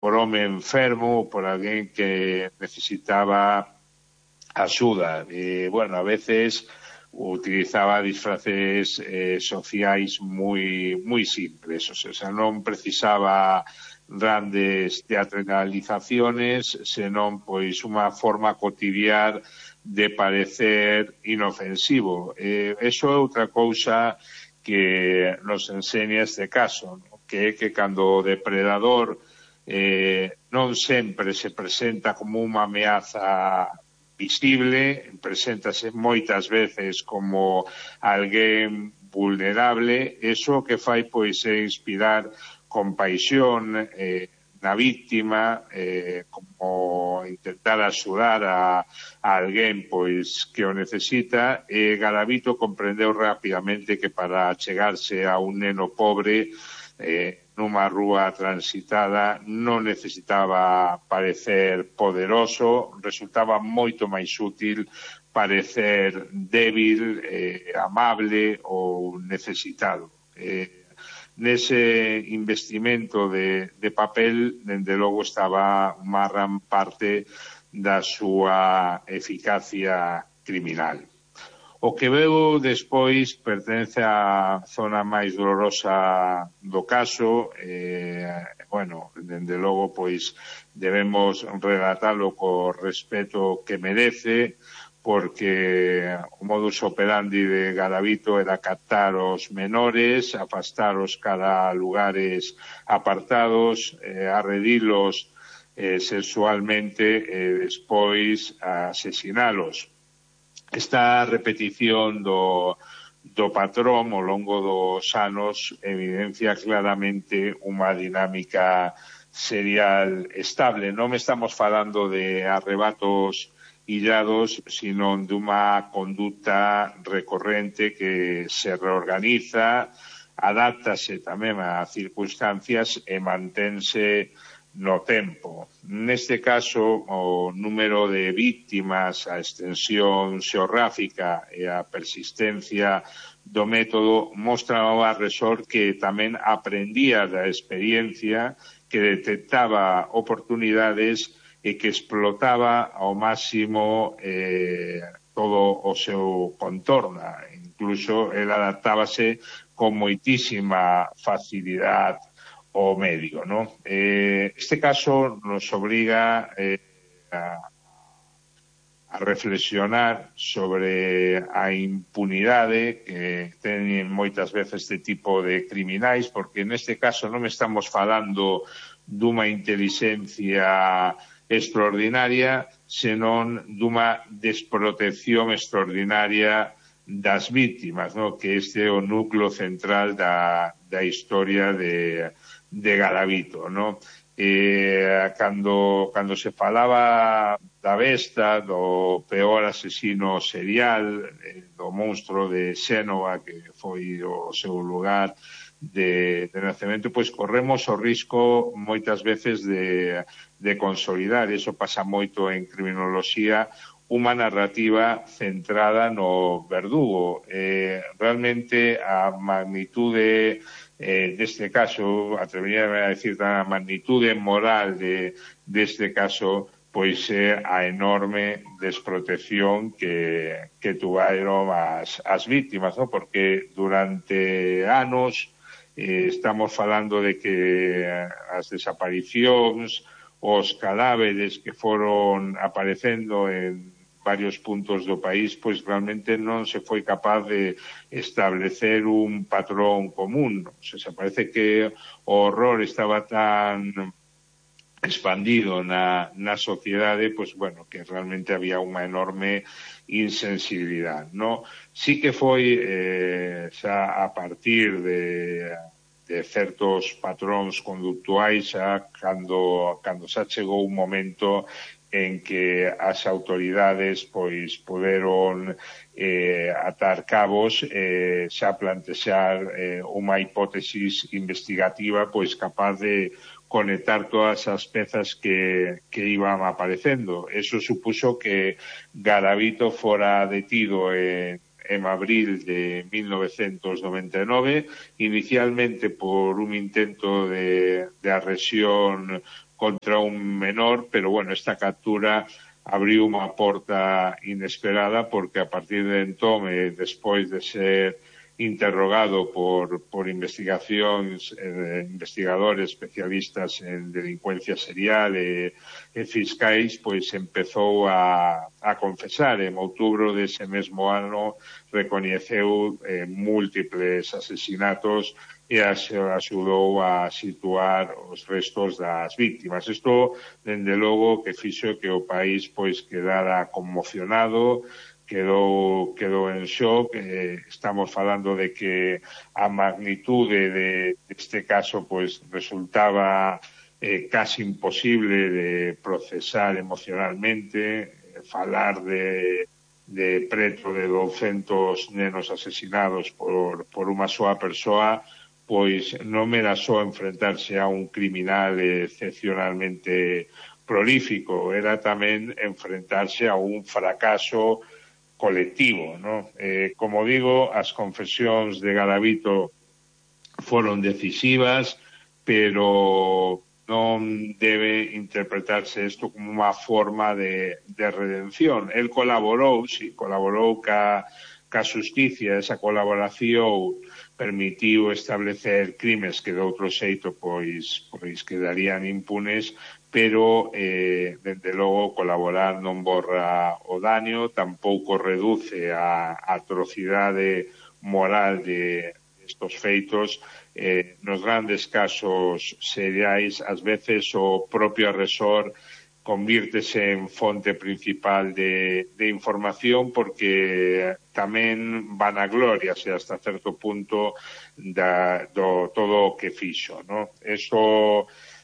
por home enfermo ou por alguén que necesitaba axuda. Bueno, a veces utilizaba disfraces sociais moi simples, o sea, non precisaba grandes teatralizaciones, senón pois unha forma cotidiana de parecer inofensivo. Eso é outra cousa que nos enseña este caso, ¿no? Que é que cando o depredador non sempre se presenta como unha ameaza visible, preséntase moitas veces como alguén vulnerable, eso que fai pois é inspirar compaixón na víctima, como intentar axudar a alguén pois que o necesita, e Garavito comprendeu rapidamente que para chegarse a un neno pobre nunha rúa transitada non necesitaba parecer poderoso, resultaba moito máis útil parecer débil, amable ou necesitado. Nese investimento de papel, dende logo, estaba unha gran parte da súa eficacia criminal. O que veu despois pertence á zona máis dolorosa do caso. Bueno, dende logo, pois, debemos relatalo co respeto que merece, porque o modus operandi de Garavito era captar os menores, afastaros cara a lugares apartados, arredilos sexualmente e despois asesinalos. Esta repetición do patrón ao longo dos anos evidencia claramente unha dinámica serial estable. Non estamos falando de arrebatos illados, sino dunha conduta recorrente que se reorganiza, adáptase tamén a circunstancias e mantense no tempo. Neste caso, o número de víctimas, a extensión xeográfica e a persistencia do método mostra ao agresor que tamén aprendía da experiencia, que detectaba oportunidades e que explotaba ao máximo todo o seu contorno. Incluso el adaptábase con moitísima facilidade o medio, ¿no? Este caso nos obliga a reflexionar sobre a impunidade que teñen moitas veces este tipo de criminais, porque neste caso non estamos falando dunha intelixencia extraordinaria, senón dunha desprotección extraordinaria das víctimas, ¿no? Que este é o núcleo central da historia de Garavito, ¿no? Cando se falaba da besta, do peor asesino serial, do monstro de Xénova, que foi o seu lugar de nacemento, pois corremos o risco moitas veces de consolidar, iso pasa moito en criminoloxía, unha narrativa centrada no verdugo. Realmente a magnitude deste caso, atreveríame a decir, a magnitude moral deste caso, pois é a enorme desprotección que tuvaron as víctimas, ¿no? Porque durante anos estamos falando de que as desaparicións, os cadáveres que foron aparecendo en varios puntos do país, pois realmente non se foi capaz de establecer un patrón común. O sea, parece que o horror estaba tan expandido na sociedade, pois, bueno, que realmente había unha enorme insensibilidade, ¿no? Sí que foi xa a partir de certos patróns conductuais, xa cando xa chegou un momento en que as autoridades pois poderon atar cabos, xa plantexar unha hipótesis investigativa pois capaz de conectar todas as pezas que iban aparecendo. Eso supuxo que Garavito fora detido en abril de 1999, inicialmente por un intento de agresión contra un menor, pero bueno, esta captura abriu unha porta inesperada porque a partir de entón, despois de ser interrogado por investigadores especialistas en delincuencia serial e fiscais, pois empezou a confesar. En outubro dese mesmo ano recoñeceu múltiples asesinatos e axudou a situar os restos das víctimas. Isto, dende logo, que fixo que o país pois quedara conmocionado, quedou en shock. Estamos falando de que a magnitude deste caso pois resultaba casi imposible de procesar emocionalmente, falar de preto de 200 nenos asesinados por unha soa persoa, pois non era só enfrentarse a un criminal excepcionalmente prolífico, era tamén enfrentarse a un fracaso colectivo, ¿no? Como digo, as confesións de Garavito foron decisivas, pero non debe interpretarse isto como unha forma de redención. El colaborou ca xusticia. Esa colaboración permitiu establecer crimes que de outro xeito pois quedarían impunes, pero, dende logo, colaborar non borra o daño, tampouco reduce a atrocidade moral de estos feitos. Nos grandes casos seriais, ás veces o propio agresor convírtese en fonte principal de información porque tamén vanagloriase hasta certo punto do todo o que fixo, ¿no?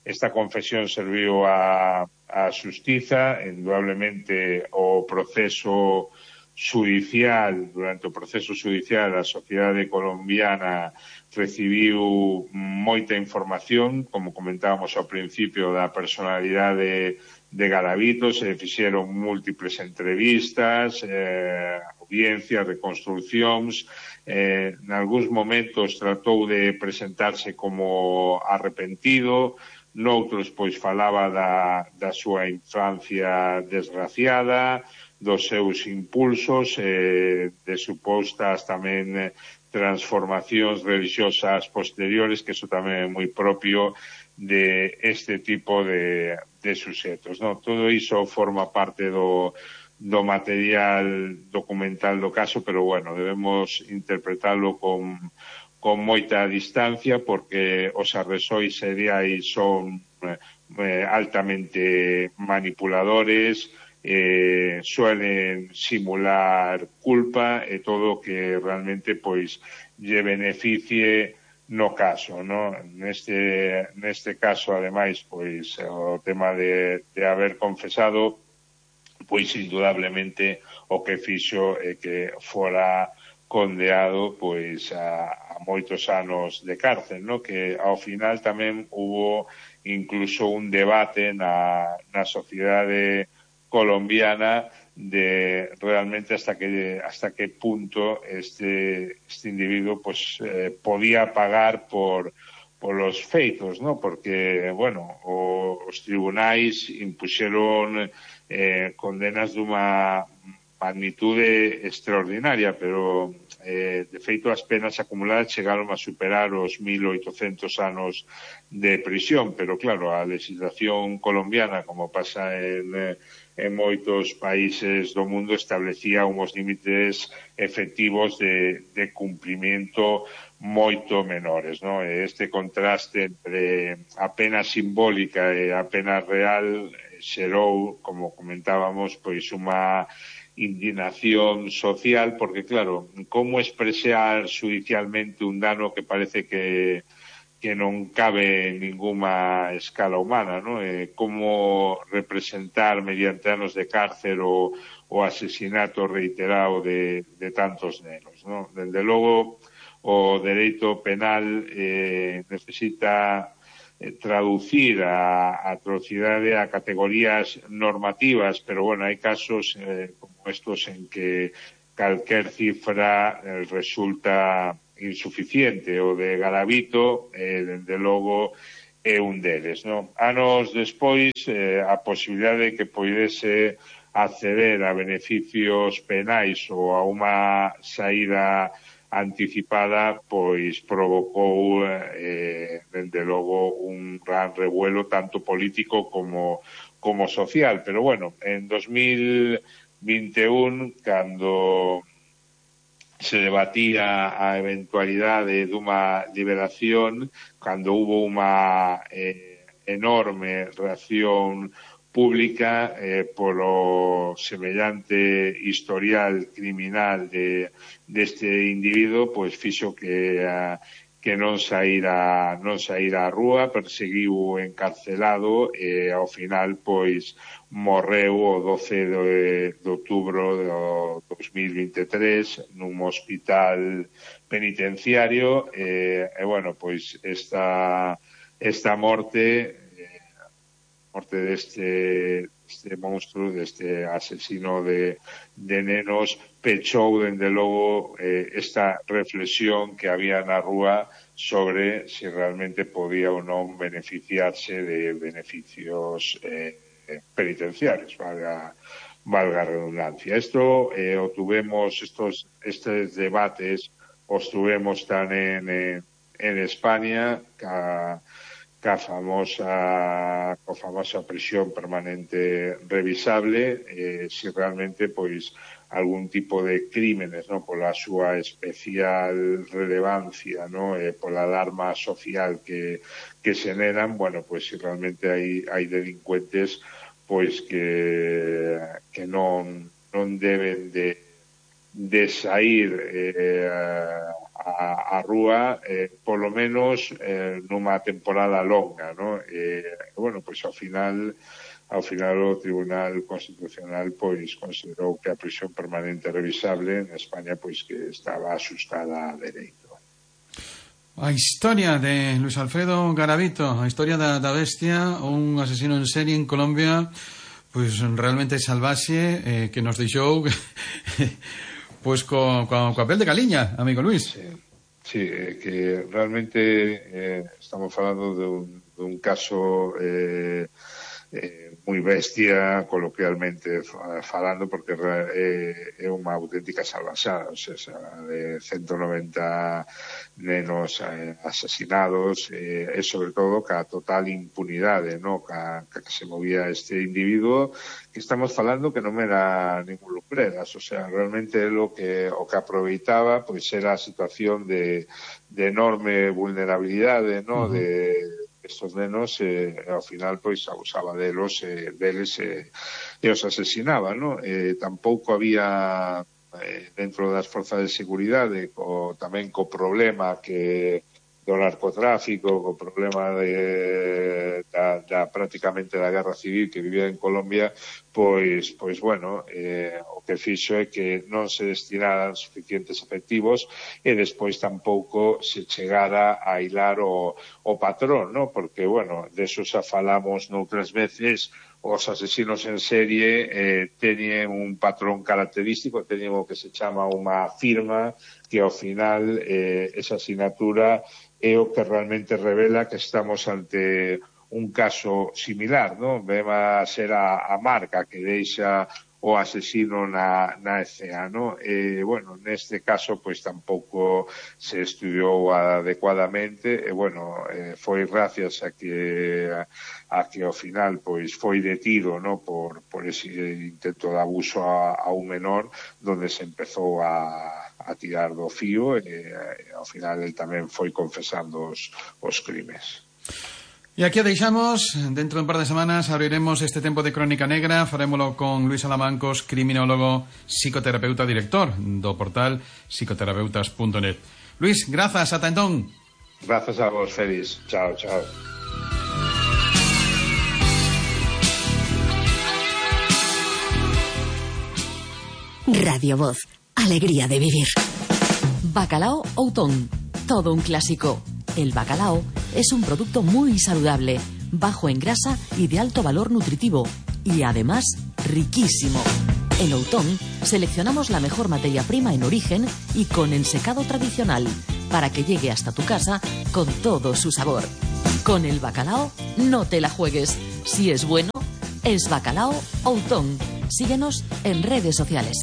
Esta confesión serviu a xustiza. Indudablemente o proceso judicial, durante o proceso judicial, a sociedade colombiana recibiu moita información, como comentábamos ao principio, da personalidade de Garavito. Se fixeron múltiples entrevistas, audiencias, reconstruccións. En algúns momentos tratou de presentarse como arrepentido, noutros pois falaba da súa infancia desgraciada, dos seus impulsos, de supostas tamén transformacións religiosas posteriores, que iso tamén é moi propio de este tipo de suxetos, ¿no? Todo iso forma parte do material documental do caso, pero bueno, debemos interpretarlo con moita distancia porque os agresores seriais son altamente manipuladores, suelen simular culpa e todo que realmente pois lle beneficie no caso, ¿no? Neste caso, ademais, pois o tema de haber confesado, pois indudablemente o que fixo é que fora condeado pois a moitos anos de cárcel, ¿no? Que ao final tamén hubo incluso un debate na sociedade colombiana de realmente hasta que punto este individuo pues podía pagar por los feitos, ¿no? Porque, bueno, os tribunais impuxeron condenas dunha magnitude extraordinaria, pero de feito as penas acumuladas chegaron a superar os 1.800 anos de prisión, pero claro, a legislación colombiana, como pasa en moitos países do mundo, establecía uns límites efectivos de cumplimiento moito menores, ¿no? Este contraste entre a pena simbólica e a pena real xerou, como comentábamos, pois unha indignación social, porque claro, como expresar judicialmente un dano que parece que non cabe en ninguna escala humana, ¿no? Como representar mediante anos de cárcel o asesinato reiterado de tantos nenos, ¿no? Dende logo, o dereito penal necesita traducir a atrocidade a categorías normativas, pero bueno, hai casos como estos en que calquer cifra resulta insuficiente. O de Garavito, dende logo, é un deles, non? Anos despois, a posibilidade de que poidese acceder a beneficios penais ou a unha saída anticipada, pois provocou, dende logo, un gran revuelo tanto político como social. Pero bueno, en 2021, cando se debatía a eventualidade dunha liberación, cando hubo unha enorme reacción pública polo semellante historial criminal deste individuo, pois fixo que non saíra á rúa, perseguiu encarcelado e ao final pois morreu o 12 de outubro do 2023 nun hospital penitenciario e bueno, pois esta morte deste monstruo, deste asesino de nenos, pechou dende logo esta reflexión que había na rúa sobre se realmente podía ou non beneficiarse de beneficios penitenciarios, valga a redundancia. Isto estes debates os tuvemos tamén en España ca famosa prisión permanente revisable, se realmente pois algún tipo de crímenes, no, pola súa especial relevancia, no, pola alarma social que xeneran, bueno, pois se realmente hai delincuentes pois que non deben de sair a rúa polo menos nunha temporada longa, ¿no? Bueno, pois ao final o Tribunal Constitucional pois considerou que a prisión permanente revisable en España pois que estaba asustada a dereito. A historia de Luis Alfredo Garavito, a historia da bestia, un asesino en serie en Colombia, pois realmente salvaxe, que nos deixou pois co papel de Galiña, amigo Luis. Sí, que realmente estamos falando dun caso moi bestia, coloquialmente falando, porque é unha auténtica salvaxada, o sea, de 190 nenos asesinados, e sobre todo ca total impunidade, no, ca que se movía este individuo, que estamos falando que non era ningún lumbreras, o sea, realmente o que aproveitaba pois era a situación de enorme vulnerabilidade, no, de estos nenos, ao final pois abusaba deles e os asesinaba, no? Tampouco había dentro das forzas de seguridade tamén co problema do narcotráfico, co problema da prácticamente da guerra civil que vivía en Colombia, pois bueno, o que fixo é que non se destinaran suficientes efectivos e despois tampouco se chegara a hilar o patrón, ¿no? Porque, bueno, deso xa falamos noutras veces, os asesinos en serie teñen un patrón característico, teñen o que se chama unha firma, que ao final esa asignatura é o que realmente revela que estamos ante un caso similar, ¿no? Vema a ser a marca que deixa o asesino na escena, ¿no? Bueno, neste caso, pois tampouco se estudiou adecuadamente, bueno, foi gracias a que ao final, pois, foi detido, ¿no? por ese intento de abuso a un menor, donde se empezou a tirar do fío e ao final el tamén foi confesando os crimes. E aquí a deixamos. Dentro de un par de semanas abriremos este tempo de Crónica Negra. Farémolo con Luis Alamancos, criminólogo, psicoterapeuta, director do portal psicoterapeutas.net. Luis, grazas, ata entón. Grazas a vos, Félix. Chao, chao. Radio Voz, alegría de vivir. Bacalao Outón, todo un clásico. El bacalao es un producto muy saludable, bajo en grasa y de alto valor nutritivo, y además riquísimo. En Outón seleccionamos la mejor materia prima en origen y con ensecado tradicional, para que llegue hasta tu casa con todo su sabor. Con el bacalao no te la juegues. Si es bueno, es Bacalao Outón. Síguenos en redes sociales.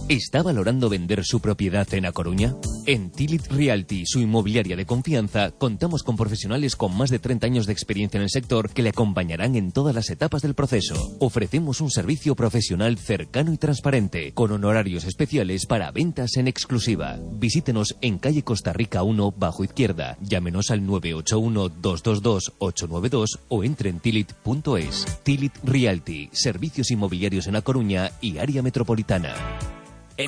¿Está valorando vender su propiedad en A Coruña? En Tilit Realty, su inmobiliaria de confianza, contamos con profesionales con más de 30 años de experiencia en el sector que le acompañarán en todas las etapas del proceso. Ofrecemos un servicio profesional cercano y transparente, con honorarios especiales para ventas en exclusiva. Visítenos en calle Costa Rica 1, bajo izquierda. Llámenos al 981-222-892 o entre en tilit.es. Tilit Realty, servicios inmobiliarios en A Coruña y área metropolitana.